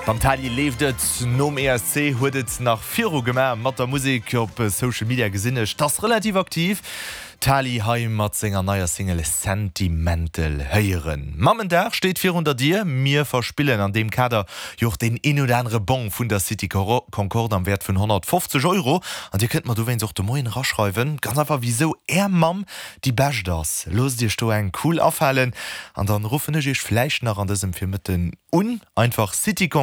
Beim Tali leeft et. Nom ESC huet et nach viru gemaach mat der Musek. Op Social Media gesinn ech, t'ass relativ aktiv. Tali hei mat senger neier Single Sentimental héieren. Mammendag steet virun der Dier. Mir verspillen an deem Kader jo och deen een oder anere Bong vun der City Concorde am Wäert vun 150 Euro. An dir kënnt mer dowéinst och de Moien eraschreiwen, ganz einfach wisou är Mamm déi bescht ass. Loosst iech do eng cool afalen an dann ruffen ech iech vläicht nach an dësem Virmëtten un. Einfach City Concorde.